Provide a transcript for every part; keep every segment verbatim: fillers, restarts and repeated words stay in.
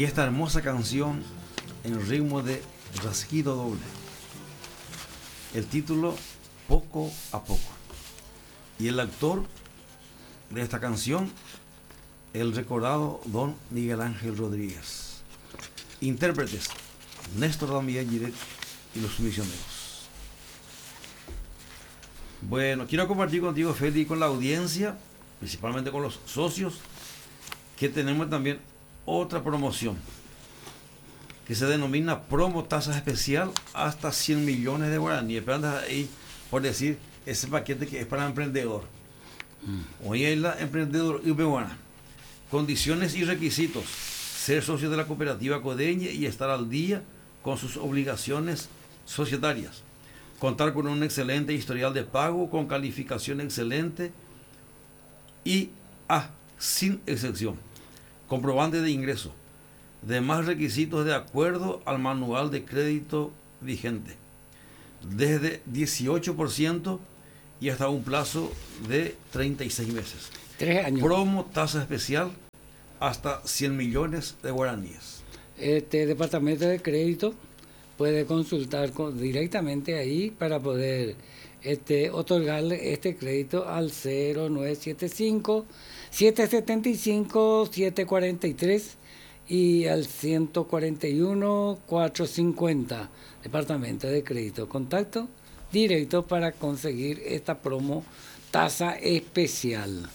Y esta hermosa canción en ritmo de rasguido doble. El título, Poco a Poco. Y el actor de esta canción, el recordado don Miguel Ángel Rodríguez. Intérpretes, Néstor Damián Giret y los misioneros. Bueno, quiero compartir contigo, Feli, y con la audiencia, principalmente con los socios, que tenemos también otra promoción que se denomina promo tasa especial hasta cien millones de guaraníes. Pero andas ahí por decir ese paquete que es para emprendedor. Mm. Hoy es la emprendedor y buena. Condiciones y requisitos: ser socio de la cooperativa Codeñe y estar al día con sus obligaciones societarias. Contar con un excelente historial de pago con calificación excelente y A, sin excepción. Comprobante de ingreso. Demás requisitos de acuerdo al manual de crédito vigente. Desde dieciocho por ciento y hasta un plazo de treinta y seis meses. Tres años. Promo tasa especial hasta cien millones de guaraníes. Este departamento de crédito puede consultar con, directamente ahí para poder, este, otorgarle este crédito al cero nueve siete cinco, siete setenta y cinco, siete cuarenta y tres y al ciento cuarenta y uno, cuatro cincuenta, Departamento de Crédito. Contacto directo para conseguir esta promo tasa especial.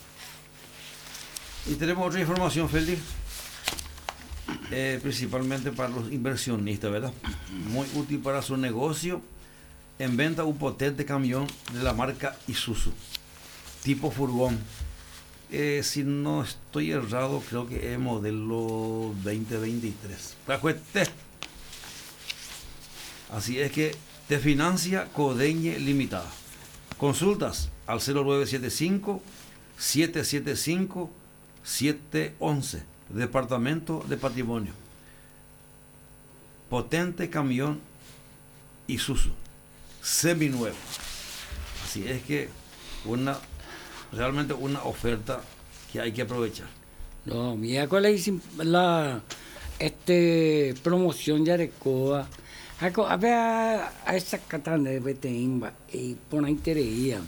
Y tenemos otra información, Félix, eh, principalmente para los inversionistas, ¿verdad? Muy útil para su negocio. En venta un potente camión de la marca Isuzu, tipo furgón. Eh, si no estoy errado, creo que es modelo veinte veintitrés. Así es que te financia Codeñe Limitada. Consultas al cero nueve siete cinco, siete siete cinco, siete once, Departamento de Patrimonio. Potente camión Isuzu, seminuevo. Así es que una, realmente una oferta que hay que aprovechar. No, mira cuál es la este, promoción Yarecoa. Jaco, a ver, a esa catanda de Beteimba y por ahí te reía.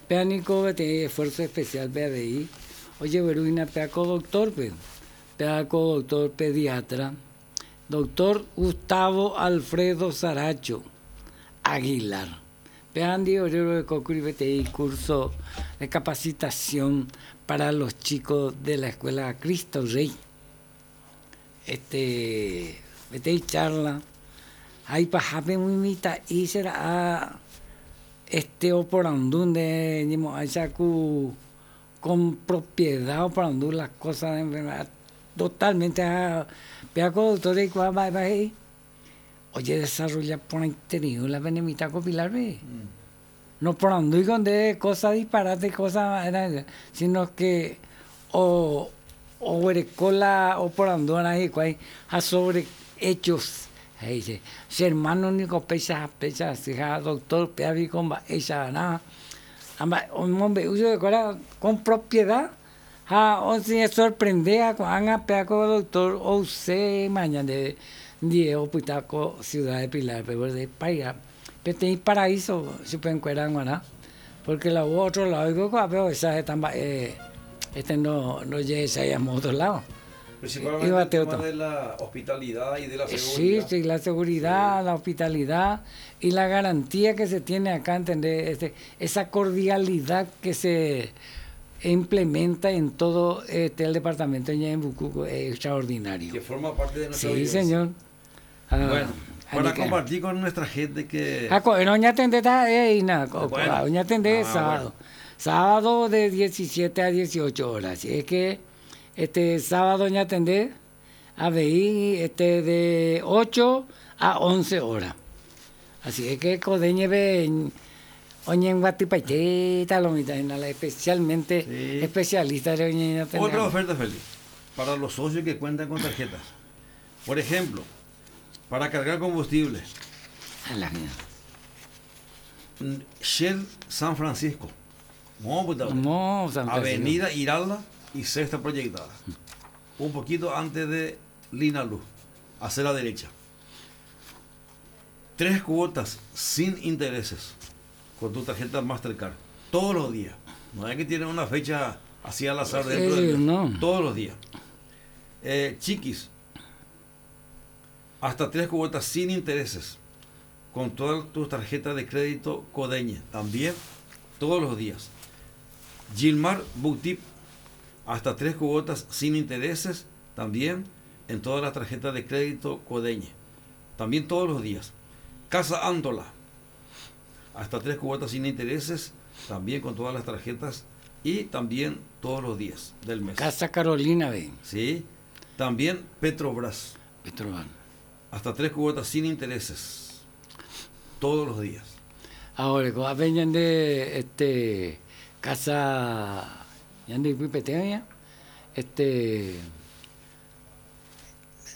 Pea Nico, bete esfuerzo especial, pea de ahí. Oye, Beruina, pea co doctor, pe. Pea co doctor pediatra. Doctor Gustavo Alfredo Saracho Aguilar. Pea Andy Obrero de Cocuri, B T I, curso de capacitación para los chicos de la escuela Cristo Rey. Este, B T I charla. Ay, pajape muy mita, y será, ah, este, o por andún de, ni mo, ay, sacu, con propiedad o por andún las cosas de enfermedad. Totalmente, ah, pea co doctor, y cua, va, va, hey. Oye, desarrolla por interior la venemita copilar, ve. Mm. No por andún y con de cosas disparate, cosas, era, sino que o, o huerecola o por andún ahí, cuay, a sobre hechos. Ahí dice, si hermano ni con pesa, pesa, si ja, doctor, pea vi con ba, esa, nada. Amba, un hombre, uso de cora con propiedad, ja, o si sorprende a con anga, pea con doctor, o se mañana de Diego Pitaco, Ciudad de Pilar, pero de Paira, pero tenéis paraíso, si pueden cueran, ¿verdad? Porque la hubo otro lado, digo, pero esa están, eh, este no, no llega ahí a otro lado. Principalmente Iba el tema Teoto. de la hospitalidad y de la Sí, seguridad. sí, la seguridad, Sí. la hospitalidad y la garantía que se tiene acá, ¿entendés? Este, esa cordialidad que se implementa en todo este, el departamento de Ñeembucú es extraordinario. Que forma parte de nuestra Sí, vivencia. señor. Ah, Bueno, para Anica. compartir con nuestra gente que... Ah, co-, no, ya atendé, está, eh, y nada, co-, Bueno. co-, ya atendé Ah, sábado. bueno. Sábado de diecisiete a dieciocho horas. Así es que este sábado ya atendé a V I, este, de ocho a once horas. Así es que Codeñe ve oñe en Guatipaiteta, lo mitad, en la especialmente Sí. especialista de oñe en Atenea. Otra oferta, Félix, para los socios que cuentan con tarjetas. Por ejemplo, para cargar combustible. A la mierda. Mm, Shell San Francisco. No, pues, dale. No, San Francisco. Avenida Irala y Sexta Proyectada. Un poquito antes de Lina Luz, hacia la derecha. Tres cuotas sin intereses con tu tarjeta Mastercard, todos los días. No es que tiene una fecha así al azar dentro Sí, del no. Todos los días. Eh, chiquis, hasta tres cuotas sin intereses con todas tus tarjetas de crédito Codeña, también todos los días. Gilmar Boutique, hasta tres cuotas sin intereses, también en todas las tarjetas de crédito Codeña, también todos los días. Casa Ántola, hasta tres cuotas sin intereses, también con todas las tarjetas y también todos los días del mes. Casa Carolina, ve. Sí, también Petrobras, Petrobras. hasta tres cuotas sin intereses, todos los días. Ahora, como venían de este casa ñande ya, este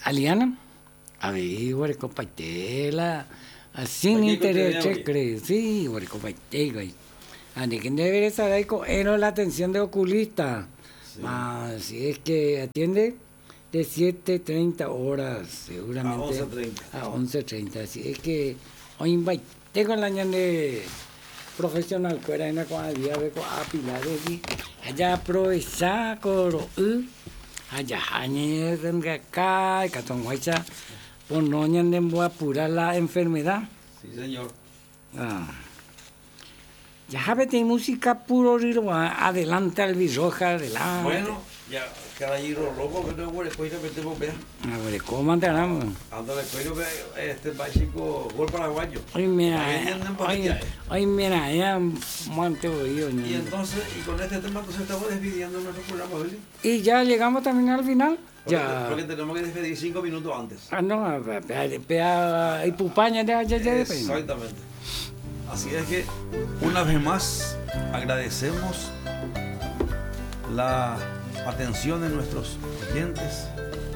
Aliana, a ver, güey, compaitela, sin Aquí interés, con cree, sí, güey, compaitela, güey. Ani que debe estar ahí con era la atención de oculista. Sí. Así es que atiende de siete treinta horas, seguramente. A once treinta. A once treinta, así es que hoy tengo la ñande profesional fuera en la cuadrilla de a Pilares aquí. Allá aprovechar coro u allá añe acá catón guacha por no ñande apurar la enfermedad. Sí, señor. Ah. Ya sabes, música puro riro, adelante Albirroja, adelante. Bueno, ya cada giro loco que no huele, pues que tengo vea. A ver, ¿cómo andaramos? Ándale, pues este va chico gol paraguayo. Ay, mira, ay, ay, mira, ya monte oído. Y entonces, y con este tema entonces estamos despidiendo nuestro programa, ¿verdad? Y ya llegamos también al final. Porque, Ya. porque tenemos que despedir cinco minutos antes. Ah, no, y pupaña ya, ya, ya. Exactamente. Así es que, una vez más, agradecemos la atención de nuestros oyentes.